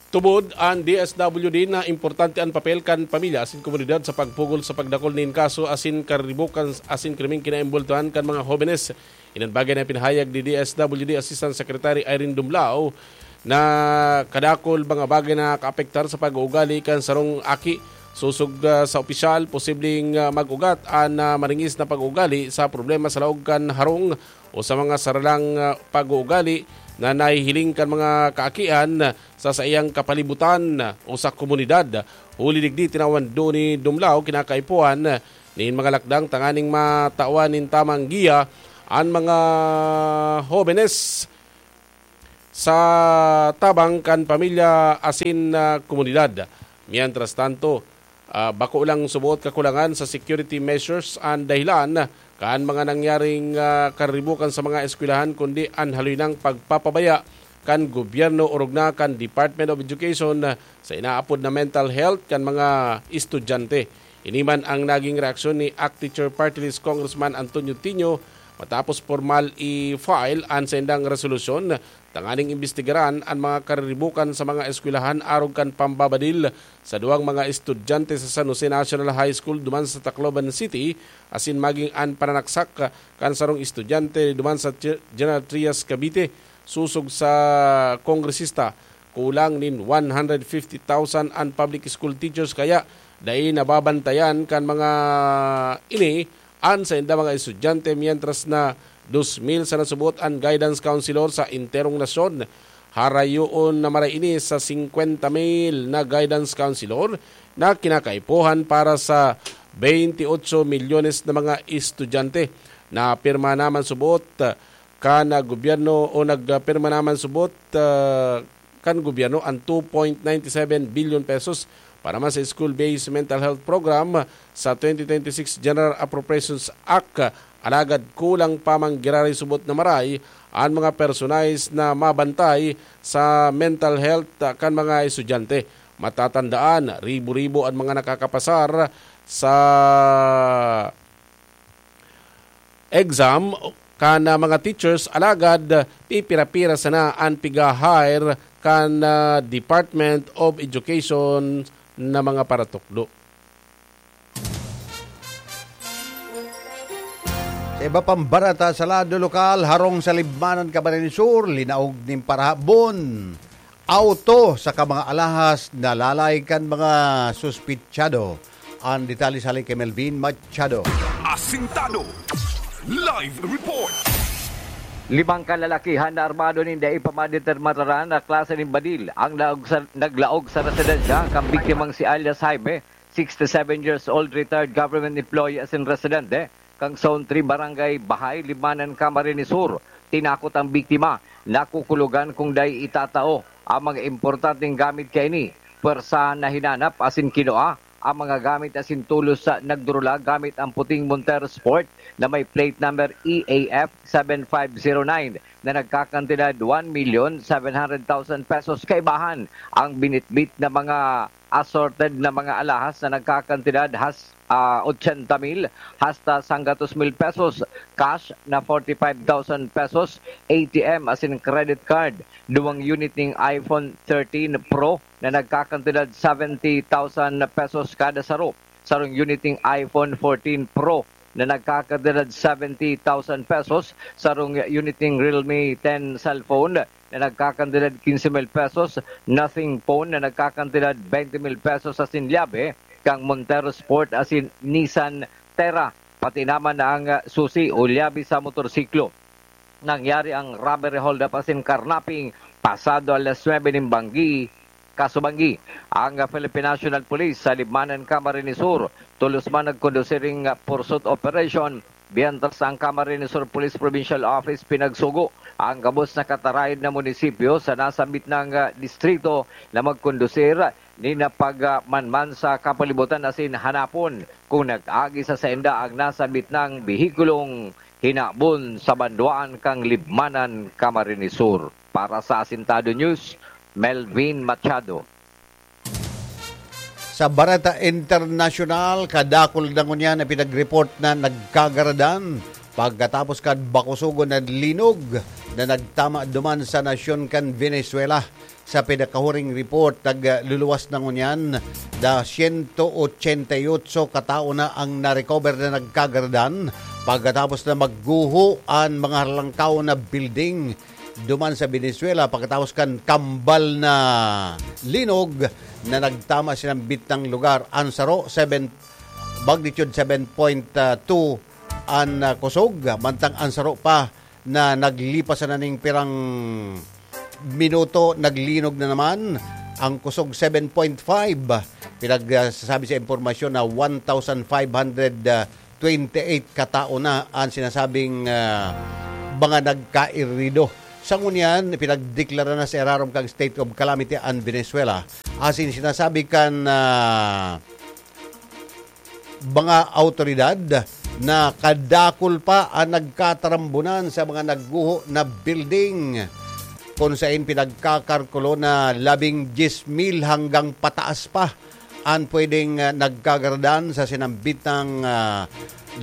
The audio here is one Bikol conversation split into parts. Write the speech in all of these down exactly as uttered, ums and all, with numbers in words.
Tubod an D S W D na importante an papel kan pamilya asin komunidad sa pagpugol sa pagdakul nin kaso asin karibukan asin krimeng kinaimbultuhan kan mga hobenes. Inan bagay na pinahayag ni D S W D Assistant Secretary Irene Dumlao na kadakul mga bagay na kaapektar sa pag-uugali kan sarong aki. Sosog, ah, sa opisyal, posibleng, ah, mag-ugat an, ah, maringis na pag-uugali sa problema sa laog kan harong o sa mga saralang, ah, pag-uugali na nahihiling kan mga kaakian sa saiyang kapalibutan o sa komunidad. Huli digdi, tinawan do ni Dumlao kinakaipuhan nin mga lakdang tanganing matawan nin tamang giya an mga hobenes sa tabang kan pamilya asin, ah, komunidad. Mientras tanto, ah, bako lang suboot kakulangan sa security measures an dahilan kan mga nangyaring, ah, karibukan sa mga eskwelahan, kundi an haloy nang pagpapabaya kan gobyerno orog na kan Department of Education sa inaapod na mental health kan mga estudyante. Ini man ang naging reaksyon ni ACT Teacher Party List Congressman Antonio Tinio matapos pormal i-file an saindang resolusyon tanganing imbestigaran an mga kariribukan sa mga eskwelahan arog kan pambabadil sa duwang mga estudyante sa San Jose National High School duman sa Tacloban City asin maging an pananaksak kan sarong estudyante duman sa Ge-, General Trias, Cavite. Sosog sa kongresista, kulang nin one hundred fifty thousand an public school teachers, kaya dai nababantayan kan mga ini an sainda mga estudyante, mientras na dos mil sana subot an guidance counselor sa enterong nasyon. Harayoon na maray ini sa singkwenta mil na guidance counselor na kinakaipuhan para sa twenty-eight milyones na mga estudyante. Napirma naman subot kan gobyerno o nagpirma naman subot, ah, kan gobyerno an two point nine seven billion pesos para man sa school-based mental health program sa twenty twenty-six General Appropriations Act. Alagad kulang pa man giraray subot na maray an mga personaes na mabantay sa mental health, ah, kan mga estudyante. Matatandaan, ribo-ribo an mga nakakapasar sa exam kan, ah, mga teachers, alagad pipira-pira sana an piga-hire kan, ah, Department of Education na mga paratukdo. Sa iba pang bareta sa lado lokal, harong sa Libmanan, Camarines Sur, linaog nin parahabon auto saka mga alahas na lalay kan mga suspitsado. An detalye hali kay Melvin Machado. Asintado. Live report. Limang kalalakihan na armado nin dai pa madeterminaran na klase nin badil ang laog sa, naglaog sa residensya kan biktimang si alias Jaime, sixty-seven years old, retired government employee asin residente kan Zone three, Barangay Bahay, Libmanan, Camarines Sur. Tinakot ang biktima, nakukulogan kung dai itatao ang mga importanteng gamit kaini. Pwersahan na hinanap asin kinua ang mga gamit asin tolos sa nagdurula gamit ang puting Montero Sport na may plate number E A F seven five zero nine na nagkakantidad one million seven hundred thousand pesos. Kaibahan ang binitbit na mga assorted na mga alahas na nagkakantidad has, ah, ochenta mil hasta sanggatos mil pesos, cash na forty-five thousand pesos, A T M asin credit card, duwang unit ning iPhone thirteen Pro na nagkakantidad seventy thousand pesos kada saro, sarong unit ning iPhone fourteen Pro na nagkakantidad seventy thousand pesos, sarong unit ning Realme ten cellphone na nagkakantidad quince mil pesos, Nothing phone na nagkakantidad twenty mil pesos asin lyabe kan Montero Sport asin Nissan Terra, pati naman ang susi o lyabe sa motorsiklo. Nangyari ang robbery, holdup asin carnapping pasado alas nuebe nin banggi, kasubanggi. Ang Philippine National Police sa Libmanan, Camarines Sur, tolos man nagkondusir ning pursuit operation, mientras ang Camarines Sur Police Provincial Office pinagsugo ang gabos na katarayan na munisipyo sa nasambit na, ah, distrito na magkondusir nin pagmanman sa kapalibutan asin hanapon kung nag-agi sa sainda ang nasambit na behikulong hinabon sa banwaan kan Libmanan, Camarines Sur. Para sa Asintado News, Melvin Machado. Sa bareta internasyonal, kadakul na ngunyan na pinag-report na nagkagaradan pagkatapos kan bakusogon na linog na nagtama duman sa nasyon kan Venezuela. Sa pinakahuring report, nagluluwas na ngunyan na siyento ochenta y otso katao na ang na-recover na nagkagaradan pagkatapos na magguho an mga harlangkaw na building duman sa Venezuela pagkatapos kan kambal na linog na nagtama sa sinambit na lugar. An saro, seven, magnitude seven point two an, ah, kusog, mantang an saro pa na naglipas na ning pirang minuto, naglinog na naman. Ang kusog, seven point five. Pinagsasabi sa impormasyon na one thousand five hundred twenty-eight katao na ang sinasabing, ah, mga nagkairido. Sa ngunyan, pinagdeklara na sa irarom kang state of calamity ang Venezuela. Asin sinasabi kan, ah, mga awtoridad na kadakul pa ang nagkatarambunan sa mga nagguho na building, kun sain pinagkakalkulo na labing diyes mil hanggang pataas pa ang pwedeng, ah, nagkagaradan sa sinambit na, ah,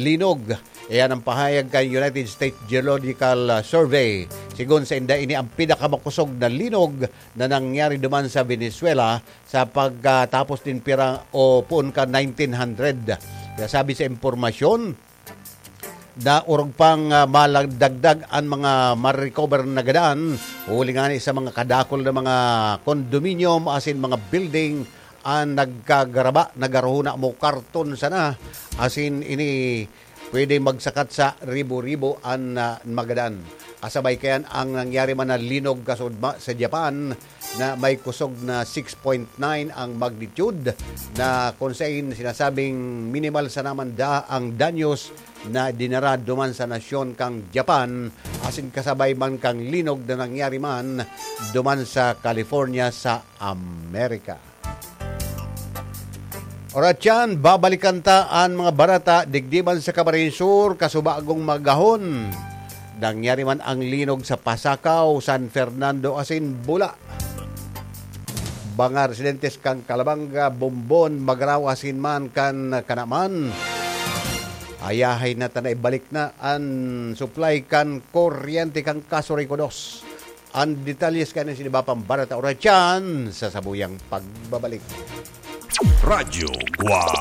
linog. Iyan ang pahayag kan United States Geological, ah, Survey. Sigon sa inda, ini ang pinakamakosog na linog na nangyari duman sa Venezuela sa pagkatapos nin pira o poon kan nineteen hundred. Kaya sabi sa impormasyon na orog pang, ah, maladagdag ang mga ma-recover na gadan, huli ngani sa mga kadakul na mga condominium asin mga building ang nagkagaraba, nagaruhuna mo karton sana, asin ini pwede magsakat sa ribo-ribo an, ah, magadan. Kasabay kayan ang nangyari man na linog kasudma sa Japan na may kusog na six point nine ang magnitude, na kung sain sinasabing minimal sana man da ang danyos na dinara duman sa nasyon kang Japan, asin kasabay man kang linog na nangyari man duman sa California sa Amerika. Oratyan, babalikan ta an mga barata digdi man sa Camarines Sur, kasubagong magahon. Nangyari man ang linog sa Pasacao, San Fernando asin Bula. Mga residentes kan Calabanga, Bombon, Magarao asin man kan Canaman. Ayahay na ta na ibalik na an supply kan kuryente kan Casureco dos. An detalles kan iba pang barata oratyan sa sabuyang pagbabalik. Radyo Guwang.